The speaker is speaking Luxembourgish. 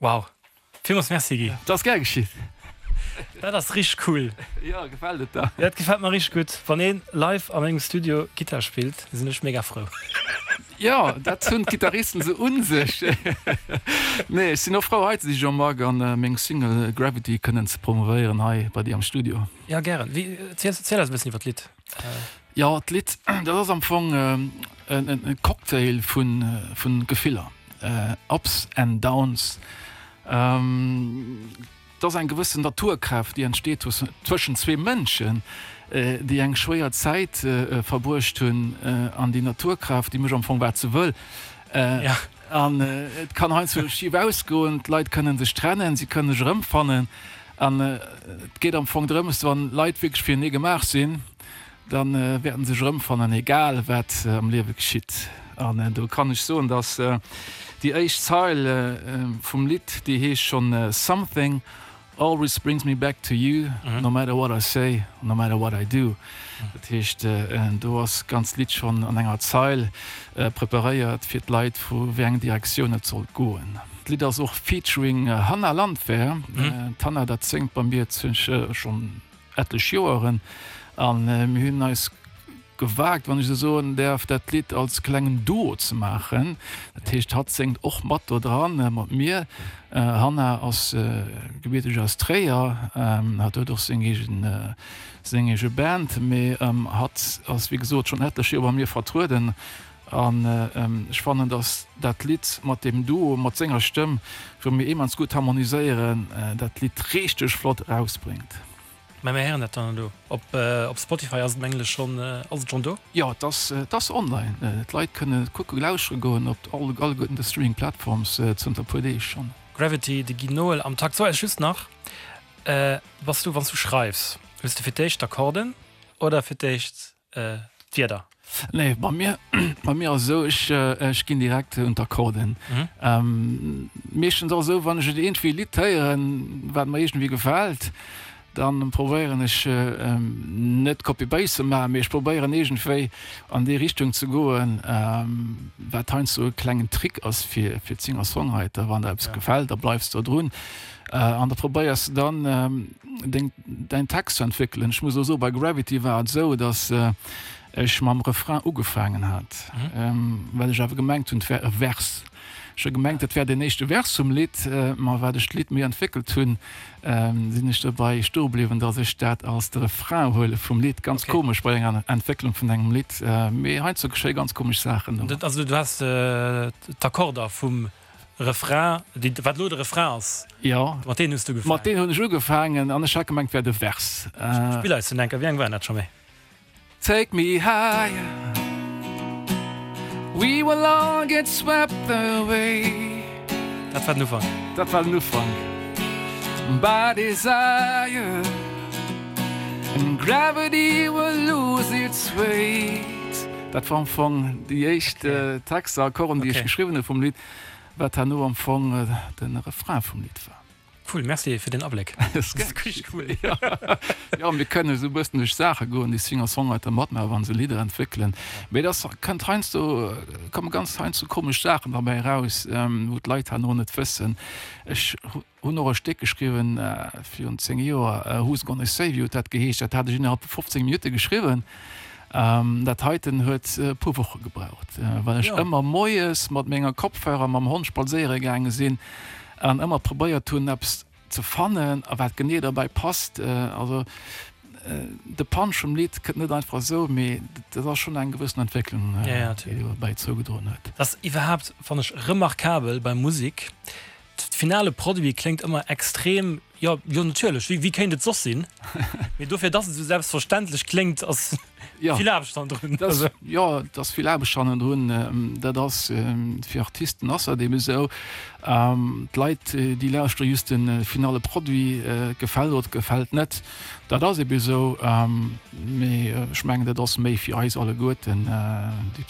Wow, villmools Merci Guy. Dat ass gär geschitt. Dat ass richteg cool. Jo, gefält et der? Jo, et gefält mer richteg gutt. Wann een live a mengem Studio Gittar spillt, sinn ech mega frou. Jo, dat hunn d'Gittaristen sou un sech. Nee, ech sinn och frou hei ze si Jean-Marc an meng Single Gravity kënnen ze promovéieren hei bei dir am Studio. Jo, gären. Wéi, erziel eis e bëssen iwwer d'Lidd. Jo, d'Lidd, dat ass am Fong e Cocktail vu Gefiller, Ups and Downs. Et ass eng gewëssen Naturkraaft, déi entsteet tëschent zwee Mënschen, déi eng schwéier Zäit verbruecht hunn. An déi Naturkraaft, déi mécht am Fong, wat se wëll. An et kann heiansdo schif ausgoen, d'Leit kënne sech trennen, si kënne sech erëmfannen. An et geet am Fong drëms, wann Leit wierklech firenee gemaach sinn, da wäerten se sech erëmfannen, egal wat am Liewe geschitt. An do kann ech soen, dass déi éischt Zeil vum Lidd, déi heescht schonn Something always brings me back to you, no matter what I say, no matter what I do. Dat heescht, do ass d'ganzt Lidd schonn an enger Zeil preparéiert fir d'Leit, vu wéi eng Direktioun et sollt goen. D'Lidd ass och featuring Hannah Landwehr. D'Hannah, dat séngt bei mir schonn etlech Joeren an mir hunn eis gewagt, wann ech esou soen däerf, dat Lidd als klengen Duo ze maachen. Dat heescht, hatt séngt och mat do dran, mat mir. Hannah ass gebierteg aus Tréier, hatt huet och seng eegen, seng eege Band, mee hatt ass wéi gesot schonn etlech Joer bei mir vertrueden an ech fannen, datt dat Lidd mat deem Duo, mat senger Stëmm, wou mir immens gutt harmoniséieren, dat Lidd richteg flott erausbréngt. Mä mir héieren dat dann elo. Op op Spotify ass et mengen ech schonn, ass et schonn do? Jo, et ass, et ass online. D'Leit kënnen et kucke, lauschtere goen op all, alleguerten de Streaming Platforms zënter e puer Deeg schonn. Gravity, de Guy Noel am Takt. So eis just nach, bass du, wann s du schreifs, hues de fir d'éischt d'Akkorden oder fir d'éischt d'Wierder? Nee, bei mir, bei mir ass esou, ech, ech ginn direkt un d'Akkorden. Meeschtens ass esou, wann ech et iergendwéi e Lidd héieren, wat mer iergendwéi gefält, dann probéieren ech net Copy-Paste ze maachen, mee ech probéieren iergendwéi an déi Richtung ze goen, wat heiansdo e klengen Trick ass fir, fir d'Singer-Songwriter, wann der eppes gefält, da bleifs de drun an da probéiers de dann deng, däin Text ze entwéckelen. Ech muss elo soen, bei Gravity war et esou, datt ech mam Refrain ugefaangen hat, well ech awer gemengt hunn, et wär e Vers. Ech hu gemengt, et wär deen éischte Vers vum Lidd, ma wat ech d'Lidd méi entwéckelt hunn, sinn ech dobäi stoe bliwwen, datt ech dat als de Refrain huele vum Lidd. Ganz komesch bei enger Entwécklung vun engem Lidd, mee heiansdo geschéie ganz komesch Saachen. Also du has d'Akkorder vum Refrain, déi, wat elo de Refrain ass, Jo, mat deenen hues du ugefaangen. Mat deenen hunn ech ugefaangen an ech hat gemengt, et wär de Vers. Spill eis den enker, wéi eng waren dat scho méi? Take me higher, we will all get swept away. Dat war den Ufank. Dat war den Ufank. By desire and gravity will lose its weight. Dat war am Fong déi éischt Texter, Akkorden, déi ech geschriwwen hu vum Lidd, wat herno am Fong de Refrain vum Lidd war. Cool, merci fir den Abléck. Cool. Jo, mir kënnen esou e bëssen duerch Saache goen, déi Singer-Songwriter matmaachen, wa se Lidder entwéckelen. Mee et ass, kënnt heiansdo, komme ganz heiansdo komesch Saachen derbäi eraus, wou d'Leit herno net wëssen. Ech hunn och e Stéck geschriwwen virun 10 Joer, Who's Gonna Save You huet dat geheescht. Dat hat ech innerhalb vu 15 Minutte geschriwwen. Dat heiten huet e puer Woche gebraucht, well ech ëmmer moies mat menger Kopfhörer mam Hond spadséiere gaange sinn an ëmmer probéiert hunn eppes ze fannen a wat genee derbäi passt. Also de Punch vum Lidd kënnt net einfach esou, mee dat ass schonn eng gewëssen Entwécklung, déi dobäi zougedroen huet. Dat ass iwwerhaapt, fannen ech, remarkabel bei Musek, de finale Produit kléngt ëmmer extrem Jo, jo natierlech, wéi, wéi kéint et soss sinn? Mee dofir, dass et esou selbstverständlech kléngt, ass ja. vill Aarbecht hannendrun. Das, jo, et ass vill Aarbecht hannendrun. Dat ass fir Artisten ass dat eben esou. D'Leit, déi lauschtere just de finale Produit, et gefält oder et gefält net. Dat ass eben esou. Mee ech mengen, dat ass méi fir eis alleguerten, déi.